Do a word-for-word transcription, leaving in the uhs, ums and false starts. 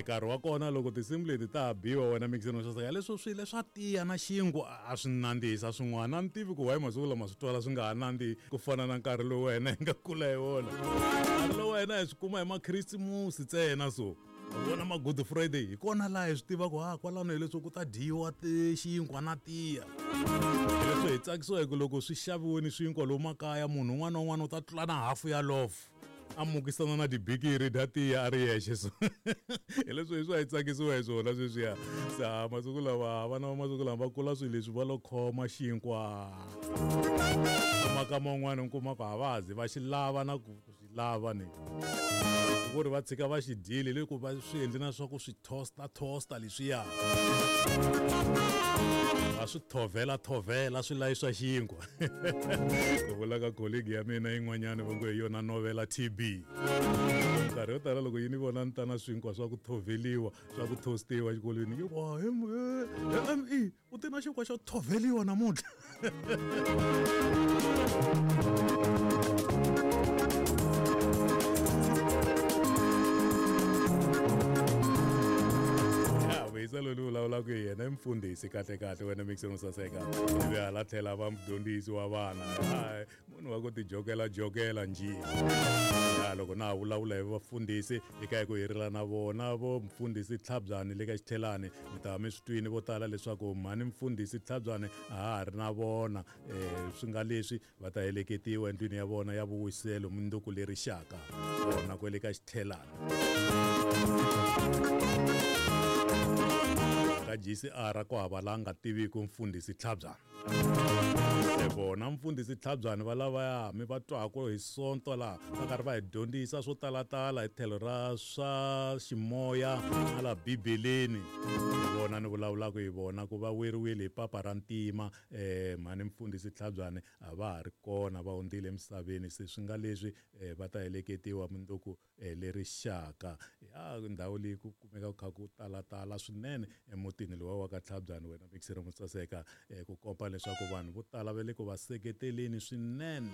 Nkarhi wa kona loko tinsimu leti ta ha biwa wena mixini swo saseka leswo swilo leswa tiya na xinkwa a swi nandzihisa swin'wana. A ni tivi ku why masiku lama swi twala swi nga ha nandzihi ku fana na nkarhi lowu wena hi nga kula hi wona. Nkarhi lowu wena hi swi kuma hi makhirisimusi ntsena so vona ma Good Friday hi kona laha hi swi tivaka ha kwalano hileswo ku ta dyiwa xinkwa na tiya. Leswi hi tsakisiwa hi ku loko swi xaviweni swinkwa lomu makaya munhu un'wana na un'wana u ta tlula na hafu ya lofu a mukisana na tibikiri dya tiya a ri yexe so hi leswi hi swi hi tsakisiwa hi swona sweswiya. Se ha masiku lawa vana va masiku lama va kula swilo leswi va lo khoma xinkwa maka man'wana u kuma ku a va ha zi va xi lava na ku xi lava ni ku ri va tshika va xi dyile le ku va swi endli na swa ku swi toaster toaster leswiya va swi thovela thovela swi layi swa xinkwa. Ku vula ka colleague ya mina yin'wanyana va ngo hi yona novela T B. Nkarhi yo tala loko yi ni vona ni ta na swinkwa swa ku thoveliwa swa ku toastiwa exikolweni yi ku M E u ti na xinkwa xo thoveliwa namuntlha. Loyi ni vulavulaka hi yena i mfundhisi kahle kahle wena mixini saseka ivi hala tlhela va mudyondzisi wa vana munhu wa ku tijokela jokela njhe. Loko na ha vulavula hi vafundhisi eka hi ku herela na vona vo mfundhisi Tlhabyani le ka Xithelani mi ta va mi swi twini vo tala leswaku mhani mfundhisi Tlhabyani a ha ha ri na vona um swi nga leswi va ta heleketiwa endlwini ya vona ya vuwiselo mundzuku leri xaka vona kwele ka Xithelani. Ka G C R ku hava la nga tiviki mfundhisi Tlhabyani. Vona mfundhisi Tlhabyani va lavaya mi va twaka hi sonto laha va karhi va hi dyondzisa swo talatala hi tlhelo ra swa ximoya na la bibeleni. Vona ni vulavulaka hi vona ku va weriwile hi papa ra ntima um mhani mfundhisi Tlhabyani a va ha ri kona va hundzile emisaveni se swi nga leswi va ta heleketiwa mundzuku leri xaka. Ya ndhawu leyi ku kumeka ku kha ku talatala swinene emutini lowa wa ka Tlhabyani wena mixere mo saseka ku komba leswaku vanhu vo tala va le ku va seketeleni swinene.